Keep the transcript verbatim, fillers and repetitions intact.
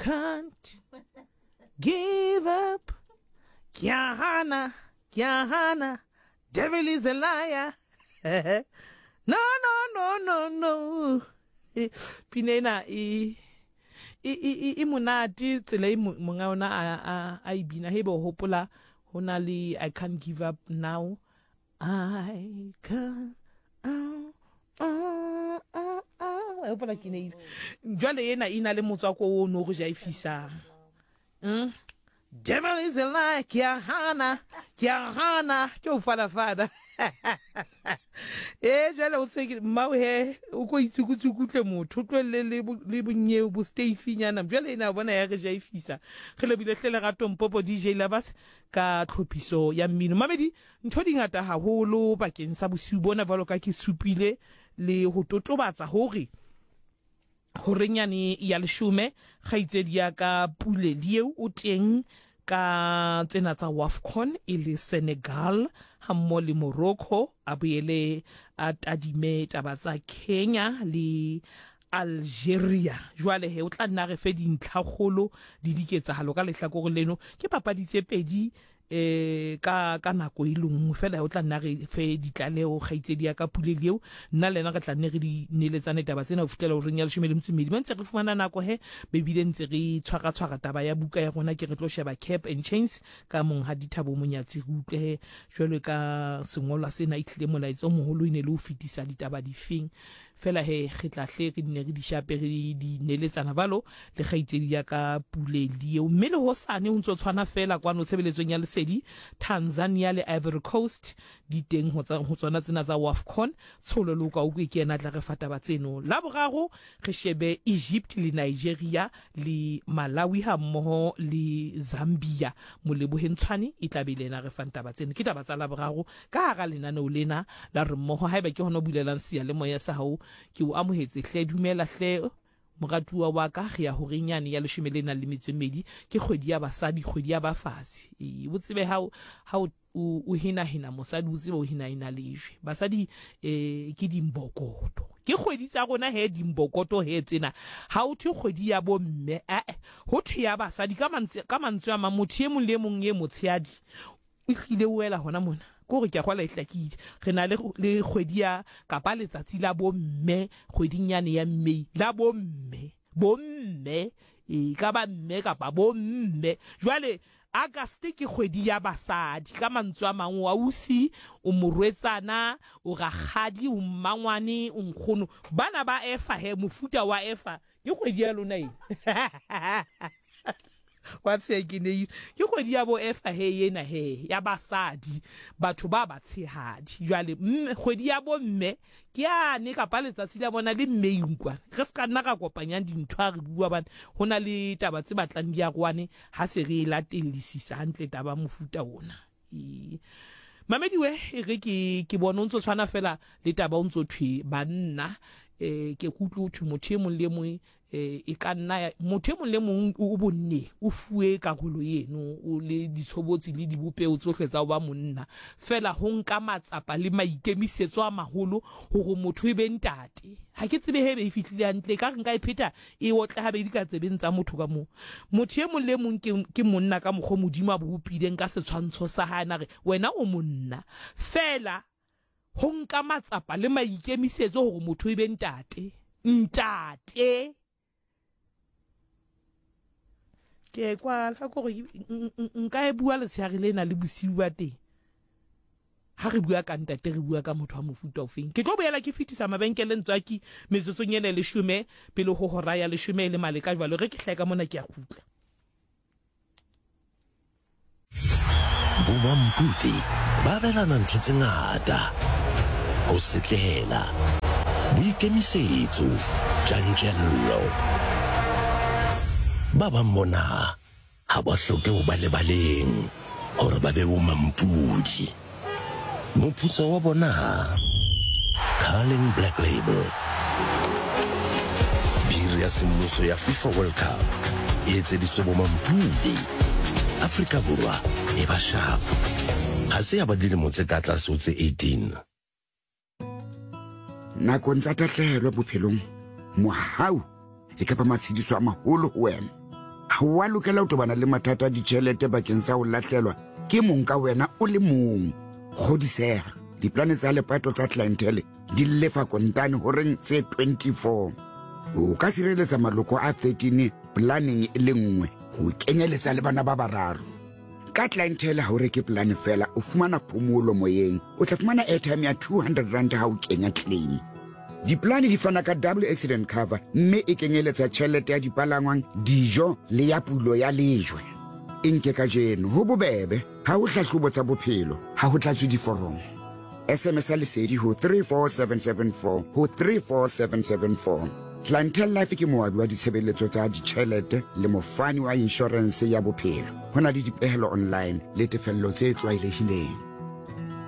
Can't give up. Ke a hana, ke a hana. Devil is a liar. No, no, no, no, no. Pina ena e e e e monate tsela e monga ona a a a e bina. Hebe o hopola ho na le I can't give up now. I can't. Oh, oh, oh, oh. Hopola ke ne jwale ena e na le motswako o no re ja e fisang. Mm? Devil is a liar. Ke a hana, ke a hana, ke o fana fana. E jwale o se mmao he o ko itsukutsukutle motho o tlohelle le le bonnye bo steifinyana. Jwale ena bona ya re ja e fisa. Re lebile hle Lerato Mpopo D J Lovers ka tlhophiso ya mmino. Mamedi ntho di ngata haholo bakeng sa bosiu bona jwalo ka ke supile le ho totobatsa hore horenyane ya leshome kgaitsedi ya ka Pule Lieu o teng ka tsena tsa WAFCON e le Senegal hammoho le Morocco, a boele a tadime taba tsa Kenya le Algeria. Jwale he o tla nna re fe dintlhakgolo le diketsahalo ka lehlakore leno. Ke papadi tse pedi eh ka ka nako e lengwe fela, o tla nna re fe ditlaleho kgaitsedi ya ka Pule Lieu. Nna le yena re tla nne re di neletsane taba tsena ho fihlela horeng ya leshome le metso e mmedi. Ba ntse re fumana nako he bebile ntse re tshwara tshwara taba ya buka ya rona, ke re tlo sheba Cap and Chains ka monghadi Thabo Monyatsi. Re utlwe he jwalo ka sengolwa sena e tlile molaetsa o moholo e ne le ho fetisa ditaba difeng. Fela he re tla hle re nne re di shape re di neletsana valo le kgaitsedi ya ka Pule Lieu. Mme le hosane ho ntso tshwana fela kwano tshebeletsong ya Lesedi, Tanzania le Ivory Coast di teng ho tsona tsena tsa WAFCON. Tsholo Loka o ke yena tla re fa taba tseno. La boraro re shebe Egypt le Nigeria le Malawi ha mmoho le Zambia. Moleboheng Tshwane e tla be le yena re fang taba tseno. Ke taba tsa la boraro ka hara lenaneo lena la re mmoho. Haeba ke hona o bulelang seyalemoya sa hao, ke o amohetse hle, dumela hle moratuwa wa ka. Re ya horeng yane ya leshome le nang le metso e mmedi, ke kgwedi ya basadi, kgwedi ya bafazi. E o tsebe ha ha o o hinahina mosadi, o tsebe o hinahina lejwe. Basadi eh ke dimbokoto, ke kgwedi tsa rona he dimbokoto he tsena. Ha o thwe kgwedi ya bomme, eh ho thwe ya basadi. Ka mantswe ka mantswe a mang, motho e mong le e mong e motshehadi o hlile o wela hona mona. Kore ke a kgola e hlakile. Re na le le kgwedi ya kapa letsatsi la bomme kgweding yane ya May, la bomme, bomme e ka ba mme kapa bomme. Jwale August ke kgwedi ya basadi. Ka mantswe a mang, o ausi, o morwetsana, o rakgadi, o mmangwane, o nkgono. Bana ba efa he, mofuta wa efa ke kgwedi ya lona e. Wa tsheha ke ne ke kgwedi ya bo efa he ena he ya basadi, batho ba batshehadi. Jwale kgwedi ya bo mme ke yane kapa letsatsi la bona le May nkwana. Re se ka nna ra kopanyang dintho ha re bua bane ho na le taba tse batlang di aroane ha se re latellisisa hantle taba mofuta ona. E Mamediwe e re ke ke bona o ntso tshwana fela le taba o ntso thwe banna eh ke kutlwe thwe motho e mong le mong eh e ka nna motho e mong le mong o bonne o fuwe karolo eno o le ditshobotsi le dibopeo tsohle tsa ho ba monna. Fela ho nka matsapa le maikemisetso a maholo hore motho e be ntate. Ha ke tsebe hebe e fihlile hantle, ka re nka e pheta e otle habedi ka tsebeng tsa motho ka moo. Motho e mong le mong ke ke monna ka mokgwa Modimo a bopileng ka setshwantsho sa hae, na re wena o monna. Fela ho nka matsapa le maikemisetso hore motho e be ntate. Ntate ke kwala gore nka e bua letshehare lena le bosiu ba teng. Ha re bua ka ntate, re bua ka motho wa mofuta ofeng. Ke tlo boela ke fetisa mabenkele ntswaki metsotsong ena e leshome pele ho hora ya leshome le maleka. Jwalo re ke hlae ka mona ke a kgutla. Bomampudi ba abelana ntho tse ngata, ho setlela, boikemisetso, tjantjello. Ba bang bona ha ba hloke ho ba lebaleng hore ba be bomampudi. Moputso wa bona, Carling Black Label, biri ya semmuso ya FIFA World Cup e etseditswe bomampudi. Afrika Borwa e ba sharp. Ha se ya ba dilemo tse ka tlase ho tse eighteen. Nakong tsa tahlehelo bophelong, mohau e ka ba matshediso a maholo ho wena. Ha wa lokela ho tobana le mathata a ditjhelete bakeng sa ho lahlelwa ke mong ka wena o le mong. Kgodiseha, diplane tsa lepato tsa Clientele di lefa kontane horeng tse twenty-four. O ka sireletsa maloko a thirteen planeng e le nngwe, ho kenyeletsa le bana ba bararo. Ka Clientele ha o reke plane feela, o fumana phomolo moyeng. O tla fumana airtime ya two hundred rand ha o kenya claim. Diplane di fana ka double accident cover mme e kenyeletsa tjhelete ya dipalangwang, dijo le ya pulo ya lejwe. E nke kajeno ho bobebe, ha ho hlahlobo tsa bophelo, ha ho tlatswe diforomo. S M S a lesedi ho three four seven seven four ho three four seven seven four. Clientele Life ke moabi wa ditshebeletso tsa ditjhelete le mofani wa inshorense ya bophelo. Ho na le dipehelo online le tefello tse tlwaelehileng.